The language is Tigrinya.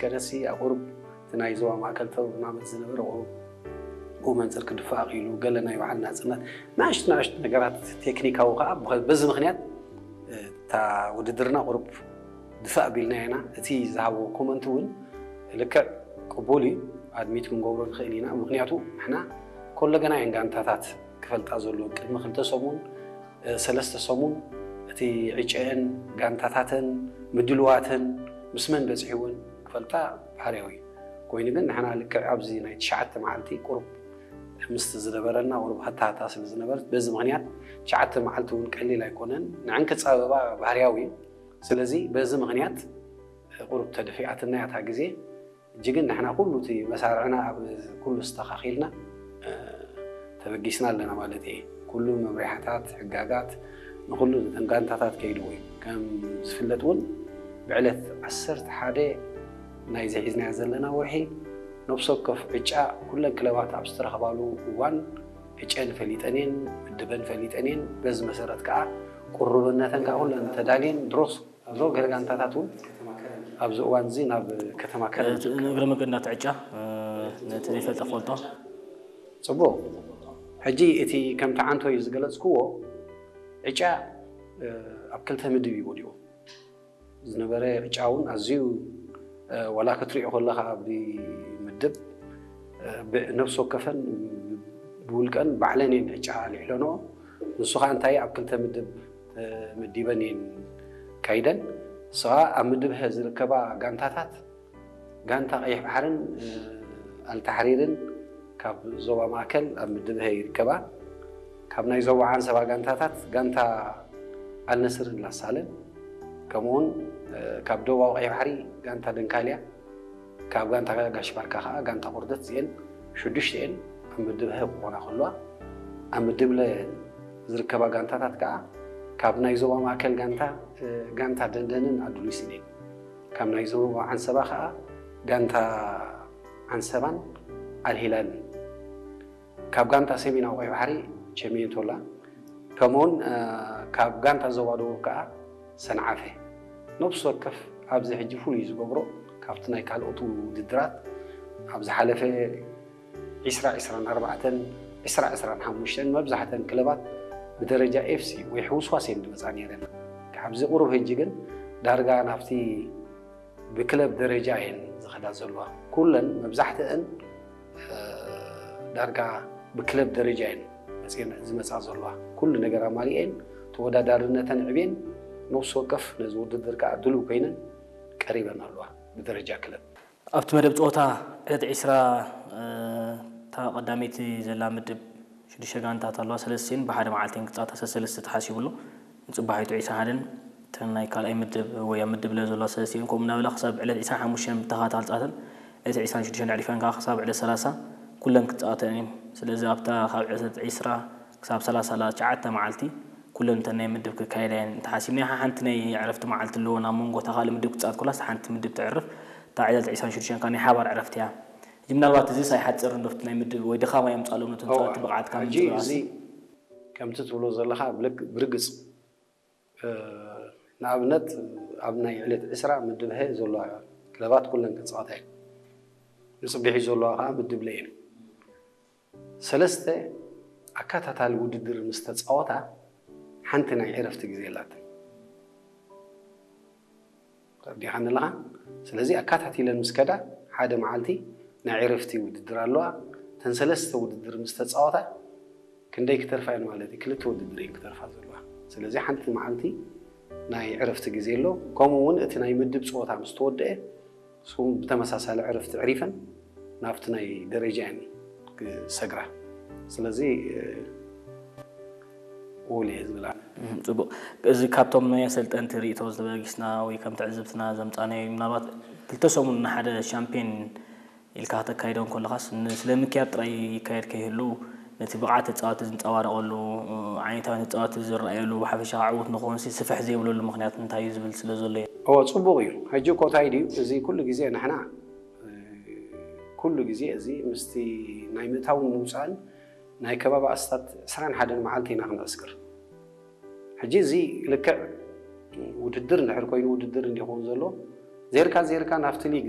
ከነሲ ኣብ ቁሩብ እቲ ናይ ዞባ ማእከል ተናመት ዝነበረ ቁሩብ ብኡ መንፅር ክድፋእ ክኢሉ፣ ገለ ናይ ባዕል ናፅነት፣ ንኣሽቱ ንኣሽቱ ነገራት ቴክኒካዊ ከዓ በዚ ምክንያት እታ ውድድርና ቁሩብ ድፋእ ቢልናያ ኢና። እቲ ዝሃቦ ኮመንት እውን ልክዕ ቅቡል እዩ፣ ኣድሚት ክንገብሮ ንኽእል ኢና። ምክንያቱ ንሕና ኮለገና እየን ጋንታታት ክፈልጣ ዘለዎ። ቅድሚ ክልተ ሰሙን ሰለስተ ሰሙን እቲ ዕጨአን ጋንታታተን ምድልዋተን ምስ መን በፂሕወን ክፈልጣ ባህርያዊ እዩ። ኮይኑ ግን ንሕና ልክዕ ኣብዚ ናይ ትሽዓተ መዓልቲ ቁሩብ ምስቲ ዝነበረና ቁሩብ ሃታሃታ ስለ ዝነበረት በዚ ምክንያት ትሽዓተ መዓልቲ እውን ቀሊል ኣይኮነን። ንዕን ክፃበባ ባህርያዊ እዩ። ስለዚ በዚ ምክንያት ቁሩብ ተደፊኣትና እያ እታ ግዜ። እጂ ግን ንሕና ኩሉ እቲ መሳርዕና ኣብ ኩሉ ኣስተኻኺልና ተበጊስና ኣለና ማለት እየ። ኩሉ መምርያታት ሕጋጋት ንኩሉ እተን ጋንታታት ከይድዎ እዩ። ከም ዝፍለጥ እውን ብዕለት ዓሰርተ ሓደ ናይዚ ሒዝናዮ ዘለና ወርሒ ነብሲ ወከፍ ዕጫ ኩለን ክለባት ኣብ ዝተረኸባሉ እዋን ዕጨን ፈሊጠን እየን፣ ምድበን ፈሊጠን እየን። በዚ መሰረት ከዓ ቁርብነተን ከዓ ኩለን ተዳልየን ድሮስ ድሮ ገለ ጋንታታት እውን ኣብዚ እዋን እዚ ናብ ከተማ ከረን እግረ መገድና ትዕጫ ነቲ ዘይፈልጠ ፈልጦ ፅቡቕ። ሕጂ እቲ ከምቲ ዓንቶ እዩ ዝገለፅክዎ ዕጫ ኣብ ክልተ ምድብ እዩ ወዲቑ ዝነበረ። ዕጫ እውን ኣዝዩ ዋላ ክትሪኦ ከለካ ኣብ ምድብ ነብሲ ወከፈን ብውልቀን ባዕለን እየን ዕጫ ኣልዒለንኦ። ንሱ ከዓ እንታይ ኣብ ክልተ ምድብ ተመዲበን እየን ካይደን። ንሱ ከዓ ኣብ ምድብ ሀ ዝርከባ ጋንታታት ጋንታ ቀይሕ ባሕርን ኣልታሕሪርን ካብ ዞባ ማእከል ኣብ ምድብ ሀ ይርከባ። ካብ ናይ ዞባ ዓንሰባ ጋንታታት ጋንታ ኣልነስርን ላሳለን ከምኡውን ካብ ደቡባዊ ቀይሕ ባሕሪ ጋንታ ደንካልያ ካብ ጋንታ ጋሽ ባርካ ከዓ ጋንታ ቁርደት እዚአን ሽዱሽተ እየን ኣብ ምድብ ሀ ክኾና ከለዋ ኣብ ምድብ ለ ዝርከባ ጋንታታት ከዓ ካብ ናይ ዞባ ማእከል ጋንታ ጋንታ ደንደንን ኣዱሊስን እየን። ካብ ናይ ዞባ ዓንሰባ ከዓ ጋንታ ዓንሰባን ኣልሂላልን ካብ ጋንታ ሰሜናዊ ቀይ ባሕሪ ቸሜንቶላ ከምኡውን ካብ ጋንታ ዞባ ደቡብ ከዓ ሰንዓፈ ነብሲ ወከፍ ኣብዚ ሕጂ ፍሉይ ዝገብሮ ካብቲ ናይ ካልኦት ውድድራት ኣብ ዝሓለፈ ዒስራ ዒስራን ኣርባዕተን ዒስራ ዒስራን ሓሙሽተን መብዛሕተን ክለባት ብደረጃ ኤፍሲ ወይ ሕውስዋስ እየን ዝመፃ ነይረን። ካብዚ ቁሩብ ሕጂ ግን ዳርጋ ናብቲ ብክለብ ደረጃ እየን ዝኸዳ ዘለዋ። ኩለን መብዛሕትአን ዳርጋ ብክለብ ደረጃ እየን መፅየን ዝመፃ ዘለዋ። ኩሉ ነገር ኣማሊአን ተወዳዳርነተን ዕብየን ነብሲ ወከፍ ነዚ ውድድር ከዓ ድሉው ኮይነን ቀሪበን ኣለዋ ብደረጃ ክለብ። ኣብቲ መደብ ፀወታ ዕለት ዒስራ እታ ቀዳመይቲ ዘላ ምድብ ሽዱሽተ ጋንታት ኣለዋ። ሰለስቲን ብሓደ መዓልቲ ክፃወታ ሰለስተ ተሓሲቡሉ። ንፅባሒቱ ዒስራን ሓደን እተን ናይ ካልኣይ ምድብ ወይ ኣብ ምድብ ለ ዘለዋ ሰለስቲን ከምኡ እናበላ ክሳብ ዕለት ዒስራን ሓሙሽተን ብተኸታታሊ ፀወተን ዕለት ዒስራን ሽዱሽተን ኣዕሪፈን ከዓ ክሳብ ዕለት ሰላሳ ኩለን ክፃወተን እየን። ስለዚ ኣብታ ካብ ዕለት ዒስራ ክሳብ ሰላሳ ዘላ ትሽዓተ መዓልቲ ኩለን እተን ናይ ምድብ ክካየዳ እየን ተሓሲብና። ሓንቲ ናይ ዕረፍቲ መዓልቲ ኣለዎ። ናብ መንጎ እታ ካልእ ምድብ ክትፃወት ኮላስ ሓንቲ ምድብ ተዕርፍ። እታ ዕለት ዒስራን ሽዱሽተን ከዓ ናይ ሓባር ዕረፍቲ እያ። ሕጂ ምናልባት እዚስ ኣይሓፅርን ዶ ኣብቲ ናይ ምድብ ወይ ድኻም ኣየምፅኣሎም ነቶም ተፃወትቲ ብቕዓት ካብ ምንጭብራቕ? እዚ ከምቲ ትብሎ ዘለኻ ብርግፅ ንኣብነት ኣብ ናይ ዕለት ዕስራ ምድብ ሀ ዘለዋ ክለባት ኩለን ክፃወታ እየን። ንፅብሒት ዘለዋ ከዓ ምድብ ለ እየን። ሰለስተ ኣካታታሊ ውድድር ምስ ተፃወታ ሓንቲ ናይ ዕረፍቲ ግዜ ኣላተን። ተረዲኻኒ ኣለኻ? ስለዚ ኣካታቲለን ምስ ከዳ ሓደ መዓልቲ ናይ ዕረፍቲ ውድድር ኣለዋ። እተን ሰለስተ ውድድር ምስ ተፃወታ ክንደይ ክተርፋ እየን ማለት እዩ? ክልተ ውድድር እየን ክተርፋ ዘለዋ። ስለዚ ሓንቲ መዓልቲ ናይ ዕረፍቲ ግዜ ኣሎ። ከምኡ እውን እቲ ናይ ምድብ ፀወታ ምስ ተወደአ ንስኹም ብተመሳሳሊ ዕረፍቲ ዕሪፈን ናብቲ ናይ ደረጃ እየን ክሰግራ። ስለዚ ውል እየ ዝብል ኣነ። ፅቡቅ። እዚ ካብቶም ናይ ኣሰልጠንቲ ርእይቶ ዝተበጊስና ወይ ከም ትዕዝብትና ዘምፃናዮ ምናልባት ክልተ ሰሙን ንሓደ ሻምፒዮን ኢልካ ከተካይዶ እንከለኻስ ን- ስለ ምክያድ ጥራይ ይካየድ ከይህሉ ነቲ ብቕዓት ተፃወቲ ዝንፀባረቐሉ ዓይነታዊ ተፃወቲ ዝረኣየሉ ብሓፈሻ ዕዉት ንክኾንሲ ስፍሕ ዘይብለሉ ምክንያት እንታይ እዩ ዝብል ስለ ዘሎ እዩ። እወ ፅቡቕ እዩ። ሕጂ እኮ እንታይ ድዩ እዚ ኩሉ ግዜ ንሕና ኩሉ ግዜ እዚ ምስቲ ናይ ምእታውን ምውፃእን ናይ ከባቢ ኣስታት ዕስራን ሓደን መዓልቲ ኢና ክንዕስክር። ሕጂ እዚ ልክዕ ውድድር እንድሕር ኮይኑ ውድድር እንዲኸውን ዘሎ ዜርካ ዜርካ ናብቲ ሊግ